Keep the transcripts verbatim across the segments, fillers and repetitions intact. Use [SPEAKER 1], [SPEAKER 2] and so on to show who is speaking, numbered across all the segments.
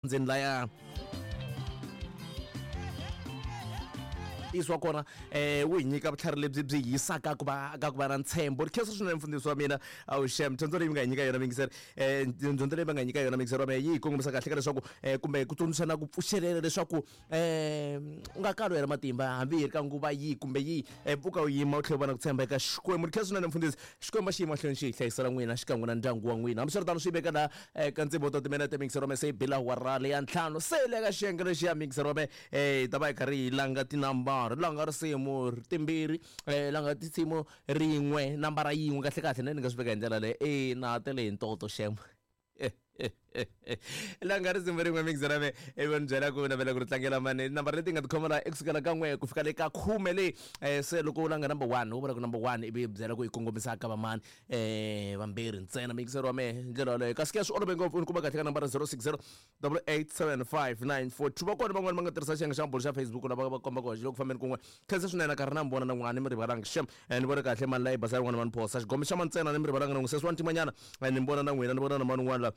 [SPEAKER 1] Ndzeni laya ntiyiso wa kona um wu hi nyika vutlhari lebyi byi yisaka ku va ka ku va na ntshembo. Ri khensa swinene mfundhisi wa mina awuxem, dyondzo leyi mi nga hi nyika yona mingiseri, um dyondzo leyi va nga hi nyika yona mingiseri wa mina yi hi kongomisa kahle ka leswaku um kumbe ku tsundzuxa na ku pfuxelela leswaku um u nga kali u hela matimba hambi hi ri ka nguva yihi kumbe yihi, um pfuka u yima u tlhela u va na ku tshemba eka Xikwembu. Ri khensa swinene mfundhisi, Xikwembu a xi yi mahlweni xi hi hlayisela n'wina xikan'we na ndyangu wa n'wina. Hambiswiritano swi veka laha ka ndzimbo to timinete mingiseri wa mina se yi bila awara leya ntlhanu, se le ka xiyenge lexi ya mingiseri wa mina um hi ta va hi karhi hi langa tinambara, langa risimu timbirhi, um langa tinsimu rin'we, nambara yin'we kahle kahle ne ni nga swi veka hi ndlela leyi e na tele hi ntoto xem langa risimu rin'we mingiseri wa mina ivi ni byela ku navela ku ri tlangela mani nambara leti nga tikhoma laha i kusukela ka n'we ku fika le ka khume leyi. um se loko u langa number one u vula ku number one ivi byela ku yi kongomisa ka vamani um vambirhi ntsena mingiseri wa mehe hi ndlela yaleyo. Kasi ke swi olove ngopfu, u ni kuma kahle ka nambara zero six zero double eight seven five nine four two. Va kona van'wani va nga tirhisa xiyenge xa mabulo xa Facebook lava va kombaka ku loko fambeni kun'we. Khensa swinene karhi na mi vona na n'wana ni mi rivalanga xem, ni vone kahle mani la yi basa yin'wana mani phosa xigombe xa mantsena ni mi rivalanga na n'wi sesi wa ntimanyana, ni mi vona na n'wina, ni vona na mani un'wana la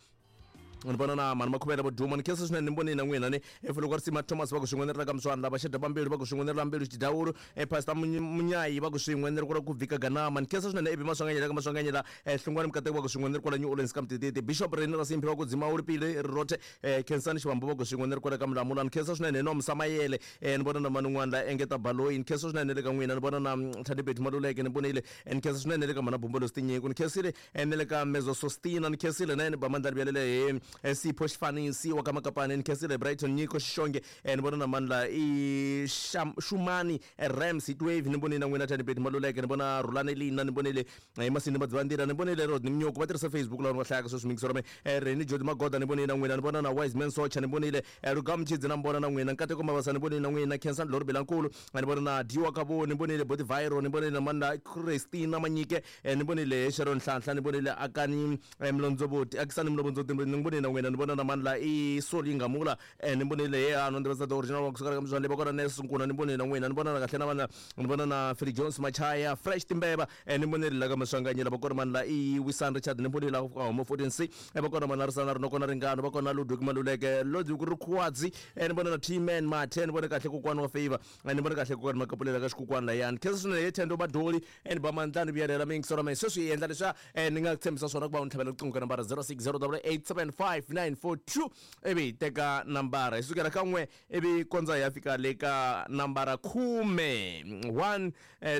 [SPEAKER 1] ni vona na mani makhuvela vo duma. Ni khensa swinene ni vonile na n'wina ni efuloko risima Thomas va ku swin'we ni ri la ka Muswana lava xeda pambilu va ku swin'we ni ri la mbilu xidawulu e Pastor Munyayi va ku swin'we ni ri kwala ku vhika ganama. Ni khensa swinene ebi Maswanganyela ka Maswanganyela Hlungwani Mukateko va ku swin'we ni ri kwala New Orleans ka Mtititi Bishop Reni Rasimphi va ku Dzimawuli Pili Rothe Khensani Xivambu va ku swin'we ni ri kwala ka Mulamula. Ni khensa swinene hi Nomsa Mayele, ni vona na mani un'wana la engeta Baloyi. Ni khensa swinene le ka n'wina, ni vona na Thadibeti Maluleke ni vonile. Ni khensa swinene le ka Mhana Bumbo Tinyiko, ni khensile ni le ka Mezo Sostina, ni khensile na yena Bamandla Byelele hi Sipho Xifanisi wa ka Makapane, ni khensile Brighton Nyiko Xixonge, ni vona na mani la i Shumani Rams Heatwave, ni vonile na n'wina Thadibeti Maluleke, ni vona Rhulani Lina, ni vonile Masindi Madzivandila, ni vonile Rodney Mnyoko va tirhisa Facebook laha va hlayaka sweswi mingisero me Reni Jodi Magoda, ni vonile na n'wina, ni vona na Wise Man Socha, ni vonile Rugam Chidzi na mbona na n'wina Nkateko Mabasa, ni vonile na n'wina Khensani Lori Bilankulu, ni vona na Diwa Kabo, ni vonile Boti Viro, ni vonile na mani la Christina Manyike, ni vonile Sharon Nhlanhla, ni vonile Akani Mlondzoboti, Akisani Mlondzoboti, ni vonile na n'wina, ni vona na mani la i Soli Ngamula, ni vonile he ano ndzi va original wa kusuka ka Mzwandle va kona Nelson Nkuna, ni vonile na n'wina, ni vona na kahle na vana, ni vona na Philip Jones Machaya Fresh Timbeva, ni vonile la ka Maswanganyela va kona mani la i Wisan Richard, ni vonile la ka Homo fourteen C, va kona mani la Risana Rinoko na Ringano, va kona Ludwig Maluleke, Ludwig Rukwadzi, ni vona na T-Man Mathe, ni vone kahle kokwani wa Favor, ni vone kahle kokwani Makapulela ka xikokwani layani. Khensa swinene hi Thendo Badoli, ni ba mandlani vuyelela mingisero me sweswi hi endla leswiya ni nga tshembisa swona ku va u ni tlhavela riqingho ka nambara zero six zero double eight seven five nine four two, ivi hi teka nambara hi sukela ka n'we ivi kondza hi ya fika le ka nambara khume, one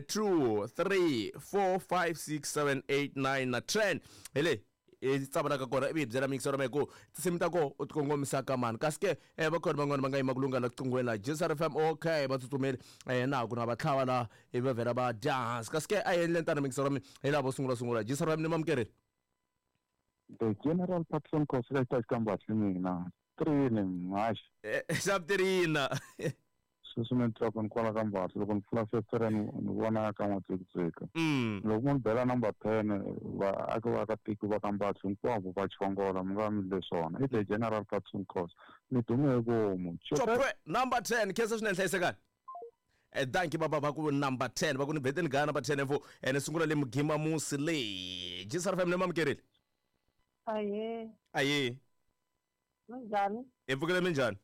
[SPEAKER 1] two three four five six seven eight nine na ten. Hi le hi tsavalaka kona ivi hi byela mingisero me ku tinsimu ta koho u ti kongomisa ka mani. Kasi ke va kona van'wani va nga yima ku lungha la kuqingweni la J S R F M, okay va tsutsumeli na ha ku na va tlhava laha ivi va vhela va dya hansi. Kasi ke a hi endleni tano mingisero mi hi lava vo sungula sungula J S R F M ni mamukerile.
[SPEAKER 2] The General Patron Khosi ka xita mina three ni
[SPEAKER 1] xaptirina
[SPEAKER 2] sweswi ni twa ku ni kwala ka Mbatsi loko ni pfula festere ni vona ka n'watsekutseka. Loko mo ni bela number ten vaaki va ka tiko va ka Mbatsi hinkwavo va chongola mi nga mi le swona i the General Patron Khosi ni dume hi vomu.
[SPEAKER 1] Chopwe number ten khensa swinene hlayisekani. Thank you baba va ku number ten va ku ni beteni ga number ten mfo ni sungula le Mugima Musi le J S R F M ni mamukerile.
[SPEAKER 3] Aye.
[SPEAKER 1] Aye.
[SPEAKER 3] Minjhani?
[SPEAKER 1] Hi pfukile minjhani?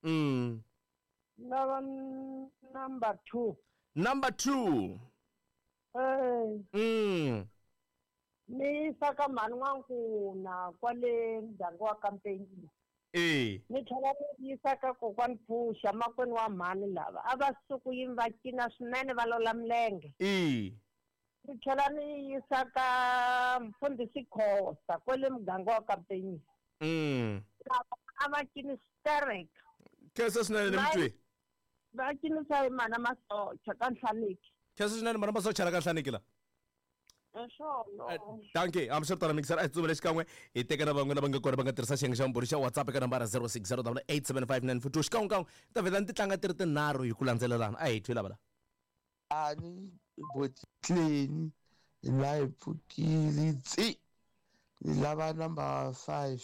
[SPEAKER 1] Mm.
[SPEAKER 3] Lava number two.
[SPEAKER 1] Number two.
[SPEAKER 3] Eh.
[SPEAKER 1] Mm.
[SPEAKER 3] Ni saka mhani n'wankuna kwale muganga wa Kampeni.
[SPEAKER 1] Eh.
[SPEAKER 3] Ni tlhela ni yisa ka kokwani Phusha makwenu wa mhani lava a va suku yini va cina swinene va lola milenge.
[SPEAKER 1] Eh.
[SPEAKER 3] Ni tlhela ni yisa ka mfundhisi Khosa kwale muganga wa Kampeni.
[SPEAKER 1] Mm.
[SPEAKER 3] A va cini sterek.
[SPEAKER 1] Khensa swinene ni mutwi.
[SPEAKER 3] Va cinisa hi mana Masocha ka Nhlaniki.
[SPEAKER 1] Khensa swinene mana Masocha la ka Nhlaniki la.
[SPEAKER 3] Swona.
[SPEAKER 1] Thank you. I'm sure tana mixer a tsumele xikan'we hi teka na van'we lava nga kona va nga tirhisa xiyenge xa mbhuri xa WhatsApp eka nambara zero six zero double eight seven five nine four two. Xikan'we kan'we ta vhela ni ti tlanga ti ri tinharhu hi ku landzelelana. A hi twi lava la.
[SPEAKER 4] Ani botleni la hi pfukile tsi ni lava number five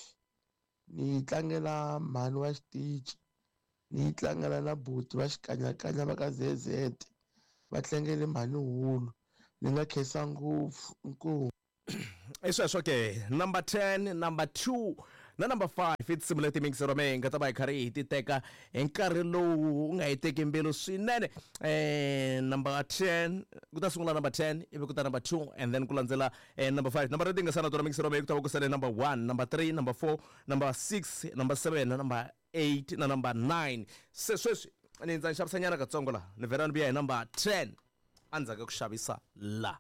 [SPEAKER 4] ni tlangela mhani wa xitichi ni tlangela na buti va xikanyakanya va ka Z Z va tlangele mhani hulu ni nga khensa ngopfu inkomu.
[SPEAKER 1] I sweswo ke number ten, number two na number five i tinsimu leti mingisero me hi nga ta va hi karhi hi ti teka hi nkarhi lowu u nga hi teki mbilu swinene. eh number ten ku ta sungula number ten ivi ku ta number two and then ku landzela eh, number five. Number leti nga sala tona mingisero me ku ta va ku sale number one, number three, number four, number six, number seven na number eight na number nine. Se sweswi ni ndza ni xavisanyana katsongo laha ni vhela ni vuya hi number ten endzhaku ka ku xavisa la.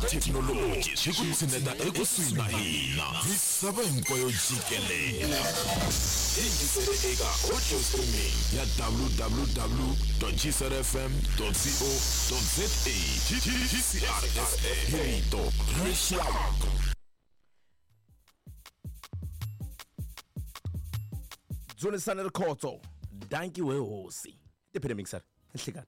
[SPEAKER 5] Thekinoloji swi ku tshineta ekusuhi na hina misava hinkwayo jikelele. Yingisele eka audio streaming ya w w w dot g c r f m dot co dot z a. G C R F M, hi rito ra rixaka.
[SPEAKER 1] Dzunisani Rikhotso, danki we hosi. Tiphine mixer, nhlikani.